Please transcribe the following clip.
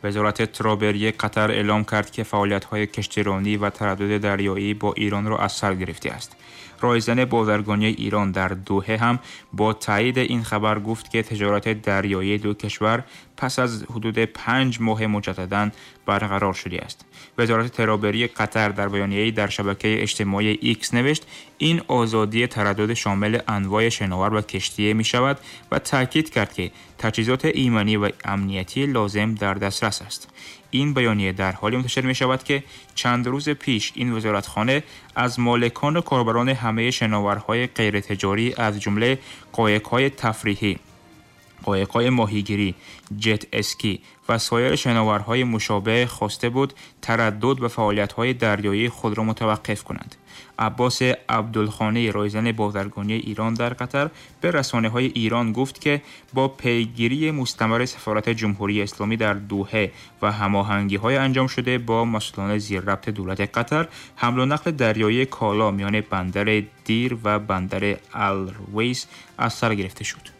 وزارت ترابری قطر اعلام کرد که فعالیت‌های کشتیرانی و تردد دریایی با ایران را از سر گرفته است. رایزن بازرگانی ایران در دوحه هم با تایید این خبر گفت که تجارت دریایی دو کشور پس از حدود 5 ماه مجدداً برقرار شده است. وزارت ترابری قطر در بیانیه‌ای در شبکه اجتماعی ایکس نوشت این آزادی تردد شامل انواع شناور و کشتی می شود و تاکید کرد که تجهیزات ایمنی و امنیتی لازم در دسترس است. این بیانیه در حالی منتشر می شود که چند روز پیش این وزارتخانه از مالکان و کاربران همه شناورهای غیر تجاری از جمله قایق‌های تفریحی، قایق‌های ماهیگیری، جت اسکی و سایر شناورهای مشابه خواسته بود تردد و فعالیت‌های دریایی خود را متوقف کنند. عباس عبدالخانی، رایزن بازرگانی ایران در قطر، به رسانه‌های ایران گفت که با پیگیری مستمر سفارت جمهوری اسلامی در دوحه و هماهنگی‌های انجام شده با مسئولان زیرربط دولت قطر، حمل و نقل دریایی کالا میان بندر دیر و بندر الرویس از سر گرفته شد.